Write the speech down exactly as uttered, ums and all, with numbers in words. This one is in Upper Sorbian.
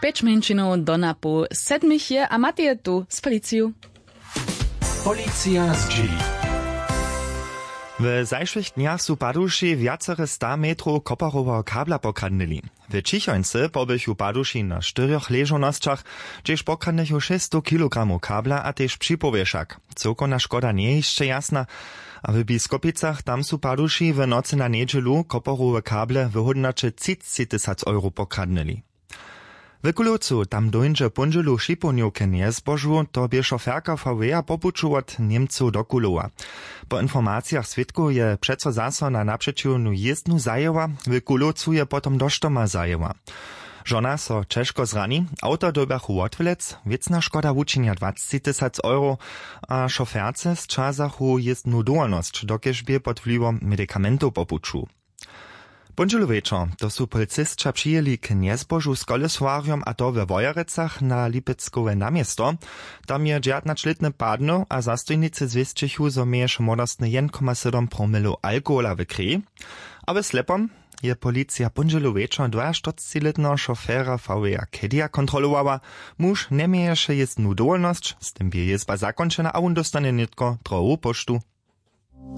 Pjeć mjeńšinow do napoł sedmich je a Matej je tu z policiju. Policija zdźěli. W zašłych dnjach su paduši wjacere sta metrow koparoweho kabla pokradnyli. W ćichońcy pobychu paduši na štyrjoch ležownosćach, hdźež pokradnychu šěsćstow kilogramow kabla a tež připowěšak. Cyłkowna škoda njeje hišće jasna. A w biskopicach tam su paduši w nocy na njedźelu koparowe kable w hódnoće třiceći tysac euro pokradnyli. W kulowcu tam dóńdźe póndźelu w šipownju k njezbožu, to bě šoferka vw-a po puću wot němcow do kulowa. Po informacijach swědkow je přeco zaso na napřećiwnu jězbnu zajěła. W kulowcu je potom do štoma zajěła. Žona so ćežko zrani. Awto dyrbjachu wotwlec. Wěcna škoda wučinja dwaceći tysac euro. A šoferce sćazachu jězbnu dowolnosć, dokelž bě pod wliwom medikamentow po puću. Póndźelu wječor to su policisća přijěli k njezbožu z koleswarjom, a to we wojerecach na lipeckowe naměsto. Tam je dźewjatnaćlětny padnył a zastojnicy zwěsćechu, zo měješe młodostny jedyn koma sydom promilow alkohola w kreji. A w slepom je policija póndźelu wječor dwajaštyrcećilětneho šofera vw-a kedija kontrolowała. Muž njeměješe jězbnu dowolnosć, z tym bě jězba zakónčena a wón dóstanje nětko drohowu póštu.